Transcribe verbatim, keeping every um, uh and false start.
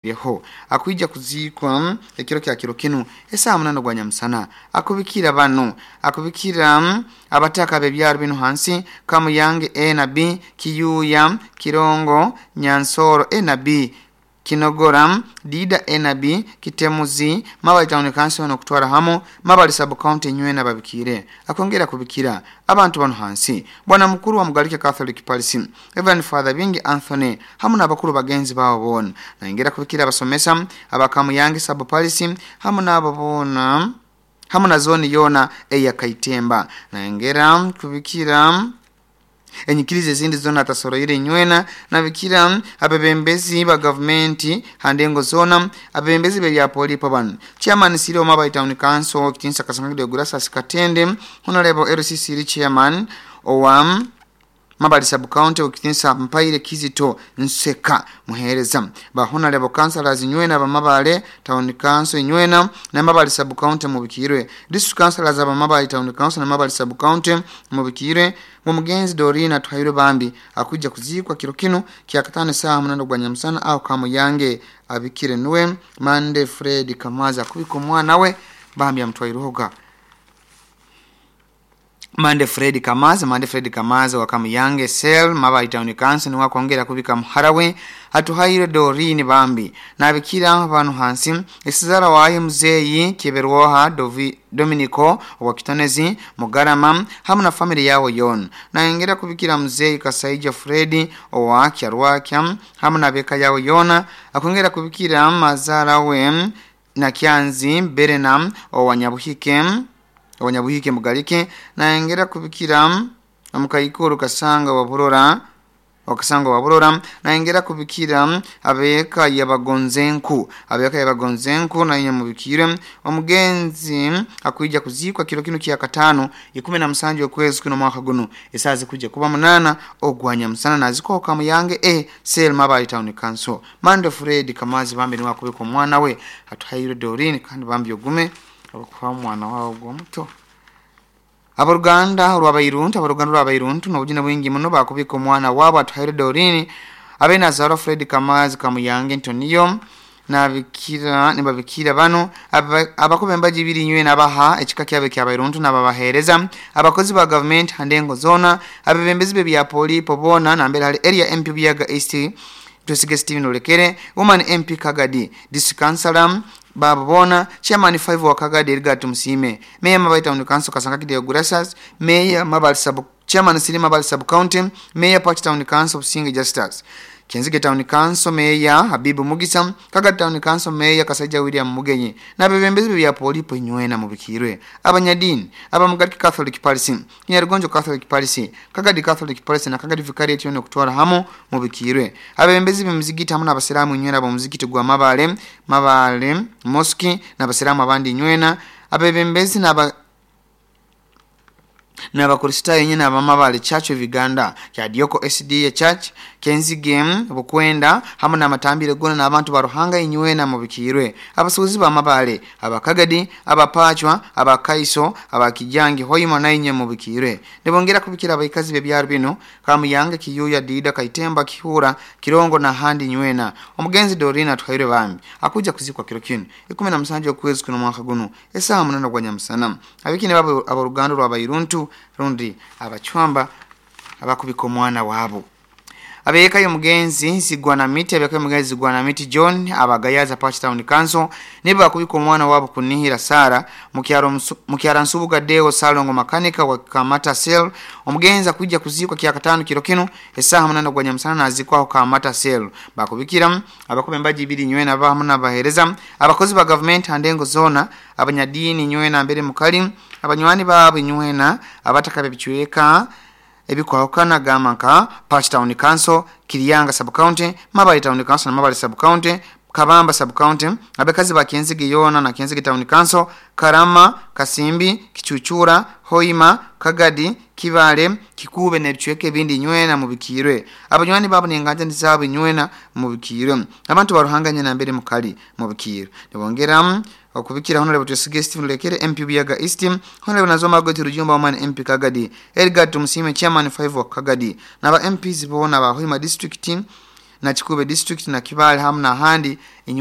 Ho akwija kuziikwa ekiro kya kiro kinu esaha munana gwa nyamusana. Akubikira bano, akubikira abataka b'ebyaro bino hansi: Kamuyange A na B, Kiyuya, Kirongo, Nyansoro A na B, Kinogora, Dida A na B, Kitemuzi, Mabali Town Council nokutwara hamu Mabali Sub County nywena babikire. Akongera kubikira abantu bano hansi: Bwana mukuru wa Mugalike Catholic Parish, Reverend Father Bingi Anthony, hamu n'abakuru bagenzi baabo boona. Nayongera kubikira abasomesa abakamuyange Sub Parish hamu n'abo boona hamu na zoni yona eya Kaitemba. Nayongera kubikira enyikiriza ezindi zona atasoroire nywena. Nabikira abebembezi ba gavumenti handengo zona, abebembezi bebyapolipo bano: Chairman Siro Mabali Town Council, Kitinsa Kasangide Gurasa Katende, Honorable L C C Chairman owa Mabali Sub County, Okitinsa Mpaire Kizito Nseka muhereza, ba honorable councillors nywena ba Mabale Town Council nywena na Mabali Sub County mubikirwe, district councillors aba Mabali Town Council na Mabali Sub County mubikirwe. Mugenzi Dorina Tuhairwe bambi akuja kuzikwa kiro kinu kya katano saa munana gwa nyamusana au Kamuyange. Abikire nuwe Mande Fred Kamaza kubika omwana we bambi amutwairoga Mande Fred Kamaza, Mande Fred Kamaza wa Kamuyange Cell, Mabali Town Council, niwa kwongera kubika muharawe Atuhaire Dorine bambi. Nabikira abantu hansi: esizara waye muzeyi Kiberwoha Dovi Dominico wa Kitonezi Mugarama hamu na family yao yona. Naengera kubikira muzeyi Kasaija Fredi owa Kyarwakya hamu na beka yao yona. Akongera kubikira mazara we na Kyanzi Berenam owa Nyabuhike, Abanyabuhike Mugalike. Naengera kubikira omukaikuru Kasanga wa Burora, wakasanga wa Burora. Naengera kubikira abeka yabagonzenku, abeka yabagonzenku na mubikire. Omugenzi akuija kuzikwa kiro kino kya katano ikumi na musanju okwezi kuno mwaka guno esazi kuja kuba munana ogwanya musana, naziko Kamuyange e Cell, Mabali Town Council. Mando Fred Kamazi bambi ni wakubika omwana we Atuhaire Dorine, kandi bambi ogume okufa omwana wawe ogwomuto. Aboluganda olwabairuntu, aboluganda olwabairuntu nobujina bwingi muno bakubika omwana waabo Atuhaire Dorini abenazarwa Fred Kamazi Kamuyange Ntoniyo. Nabikira, nibabikira bano: abakuba embaji ibiri nywe nabaha ekika kyabe kyabairuntu nababahereza, abakozi ba gavumenti handengo zona, abebembezi be bya polipo bona nambere hali area M P Buyaga East Twesige Steven Olekere, Woman M P Kagadi, District Councilor babo bona, Chairman five wa Kagadi Edgar Tumsime, Mayor Mabali Town Council Kasanga Kideo Gurasas, Mayor Mabali Sub Chairman Siri Mabali Sub County, Mayor Party Town Council Singi Justus, Kenzige Town Council Mayor Habibu Mugisa, Kagadi Town Council Mayor Kasaija William Mugenyi n'abebembezi bya polipo nywena mubikirwe, abanyadini abamugaliki Catholic Parish, Kinyarugonjo Catholic Parish, Kagadi Catholic Parish na Kagadi Vicariate yone kutwara hamu mubikirwe, abebembezi b'emizigiti hamu n'abasiramu nywena b'omuzigiti gwa Mabale, Mabale Mosque, n'abasiramu abandi nywena, abebembezi n'aba n'abakristaayo nyine abamabale Church of Uganda, Kyadioko S D A Church, Kenzige Bukwenda hamu n'amatambire gona n'abantu ba Ruhanga inywena mubikirwe, abasuuzi b'amabale, abakagadi, abapachwa, abakaiso, abakijangi Hoima nainye mubikirwe. Nibongera kubikira abaikazi b'ebyaro bino: Kamuyange, Kiyuya, Dida, Kaitemba, Kihura, Kirongo na handi nywena. Omugenzi Dorina Tuhaire bambi akuja kuzikwa kiro kino ikumi na musanju okwezi kuno mwaka guno esaha munana gwa nyamusana. Abikine babo aboluganda lwabairuntu rundi abacwamba abakubika omwana waabo. Abeeka y'omugenzi Zigwana Miti, abeeka y'omugenzi Zigwana Miti John abagayaza Party Town Council nibo bakubika omwana waabo Kunihira Sara mukyara Nsubuga Deo Salongo makanika wa Kamata Cell. Omugenzi akujja kuzikwa kya katano kiro kino esaha munana gwa nyamusana nazikwaho Kamata Cell. Bakubikira abakuba embaji ibiri nywena abahamu n'abahereza, abakozi ba gavumenti handengo zona, abanyadini nywena mbere mukali, abanywani baabo nywena, abataka bebicweka ebikwahukana gamba nka Party Town Council, Kiriyanga Sub County, Mabali Town Council na Mabali Sub County, Kabamba Sub County, abakazi ba Kenzige yona na Kenzige Town Council, Karama, Kasimbi, Kichuchura, Hoima, Kagadi, Kibale, Kikube n'ebicweka ebindi nywena mubikirwe, abanywani babo n'enganja zaabo nywena mubikirwe, abantu ba Ruhanga nyina mbere mukali mubikirwe. Nibongera okubikira Honorable Twesige Stephen Lekere M P Buyaga East, Honorable Nazoma Goti Rujumba Woman M P Kagadi, Edgar Tumusime Chairman five wa Kagadi n'aba M Ps bona ba Hoima District. Nakikuube district, Nakibale hamu n'ahandi.